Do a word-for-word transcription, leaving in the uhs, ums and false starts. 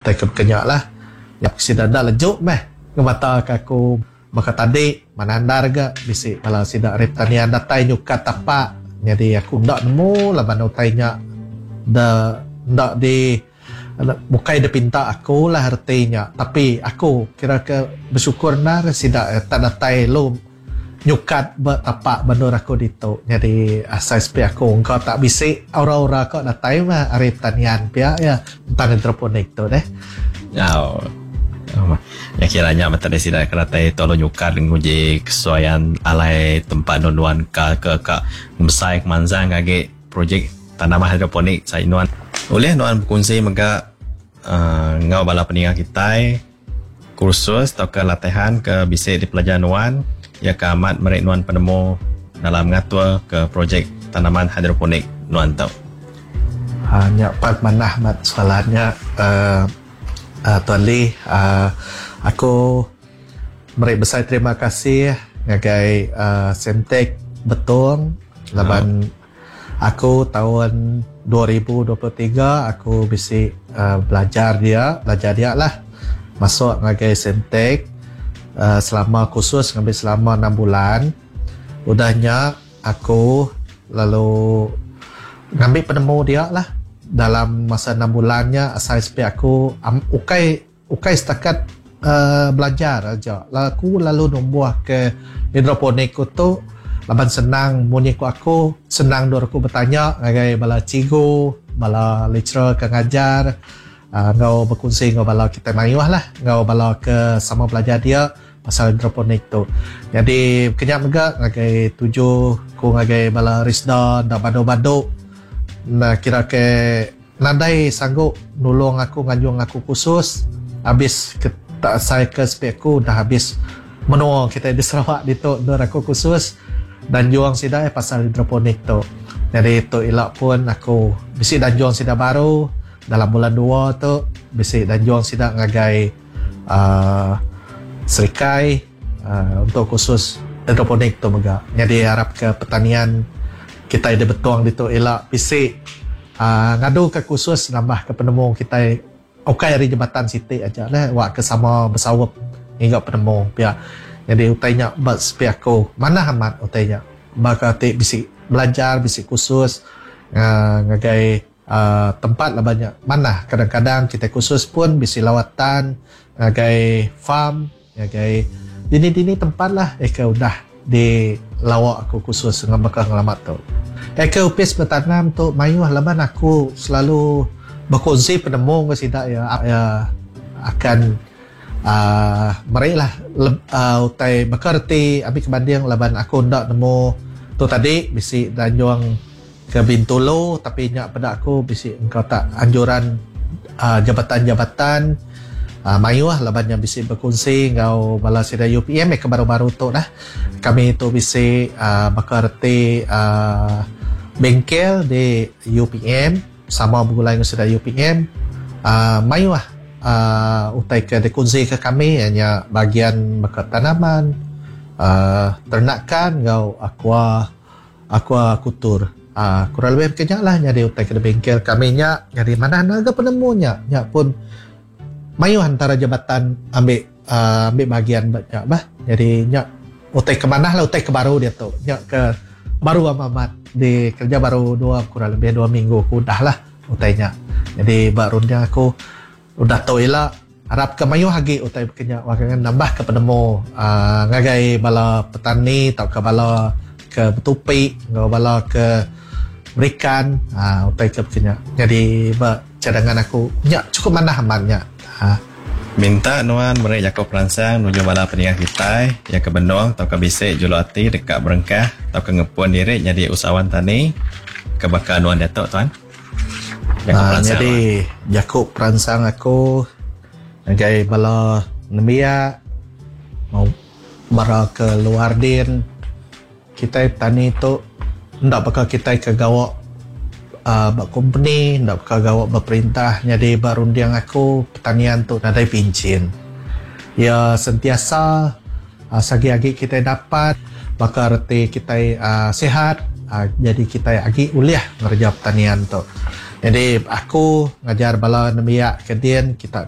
Tai ke kenya lah. Ya sida enda lejuk meh ngemata ke aku baka tadi manandar ga bisi bala sida ari pertanian datai nyukat tapak nyadi aku enda nemu laban utai nya da enda di bukai dipinta aku lah reti nya tapi aku kira ke bersyukur endar sida tak datai lu nyukat ba tapak ba endur aku ditu nyadi asai sepi aku engka tak bisi aura-aura ka datai mah ari pertanian pia iya tentang hidroponik tu deh. Au. Ya kira nya mata deh sida ke datai tu lalu nyukat nguji kesesuaian alai tempat nuan ka ke ka besai kemansang agi projek tanaman hidroponik sai nuan. Ulih nuan bekunsi mega uh, enggau bala peninga kitai kursus tauka latihan ke bisi dipelajar nuan ya ke amat meri nuan penemu dalam ngatur ke projek tanaman hidroponik nuan tu. Ha, nya part manah mat soalannya uh, uh, Tuan Lee, uh, aku meri besai terima kasih ngagai uh, Semtek Betong laban aku tahun dua ribu dua puluh tiga aku bisi uh, belajar dia, belajar dia lah masuk ngagai Semtek uh, selama kursus ngambil selama enam bulan. Udahnya aku lalu ngambil penemu dia lah dalam masa enam bulannya asai sepi aku um, ukai ukai setakat uh, belajar aja. Aku lalu numbuh ke hidroponik tu laban senang munyi ku aku senang dur aku bertanya ngagai bala cikgu, bala lecturer ke ngajar, uh, ngau berkongsi ngau bala kita mayuh lah, ngau bala ke sama belajar dia pasal hidroponik tu. Jadi kenyak mega ngagai tuju ku ngagai bala Risda da badu-badu nah kira ke nadai sanggup nulung aku nganjung aku kursus habis ke tak saya ke sepi aku dah habis menua kita di Sarawak ditu dur aku kursus dan juang sida eh pasal hidroponik tu. Jadi tu ilak pun aku bisi dan juang sida baru dalam bulan dua tu bisi dan juang sida ngagai uh, Serikai uh, untuk kursus hidroponik tu mega. Jadi harap ke pertanian kita di Betong ditu ilak bisi uh, ngadu ke kursus nambah ke penemu kita ukai ari jabatan siti aja lah wak ke sama bersawap hingga penemu pia. Jadi utainya ba sepi aku mana amat utainya baka ti bisi belajar bisi kursus uh, ngagai uh, tempat lah banyak mana kadang-kadang kita kursus pun bisi lawatan ngagai farm ngagai dini-dini tempat lah eh ke udah di lawak aku kursus dengan bakal ngelamat tu. Eh ke upis bertanam tu mayuh laban aku selalu berkongsi penemu ke sida ya, ya akan uh, merilah uh, utai bakal reti ambil kebanding laban aku ndak nemu tu tadi bisi danjuang ke Bintulu tapi nyak pada aku bisi engkau tak anjuran uh, jabatan-jabatan uh, mayuh laban yang bisi berkongsi ngau bala sida U P M eh ke baru-baru tu lah kami tu bisi uh, bakal reti uh, bengkel di U P M sama bergulai dengan sida U P M uh, mayuh uh, utai ke dikongsi ke kami hanya bagian bakal tanaman, uh, ternakan ngau aqua aquakultur. Uh, kurang lebih kejap lah jadi utai ke bengkel kami nya jadi mana naga penemunya nya pun mayuh antara jabatan ambil uh, ambil bahagian banyak bah. Jadi nya utai ke mana lah utai ke baru dia tu nya ke baru amat di kerja baru dua kurang lebih dua minggu aku dah lah utainya. Jadi barunya aku udah tahu ila harap ke mayuh lagi utai kenya wakangan nambah ke penemu uh, ngagai bala petani atau ke bala ke betupi ngau bala ke berikan uh, utai ke kenya. Jadi ba cadangan aku nya cukup manah amatnya ha. Minta nuan meri jaku peransang nuju bala peninga kita yang ke benung atau ke bisi julu ati dekat berengkah atau ke ngepun diri jadi usahawan tani ke bakal nuan datuk tuan. Jaku uh, jadi jaku peransang aku ngagai bala nembiak mau bara ke luar din kita tani tu ndak bakal kita ke gawak uh, bak company ndak bakal gawak berperintah. Jadi barundiang aku pertanian tu nadai pincin ya sentiasa uh, sagi-agi kita dapat bakal reti kita uh, sihat uh, jadi kita agi uliah ngerja pertanian tu. Jadi aku ngajar bala nembiak ke din kita.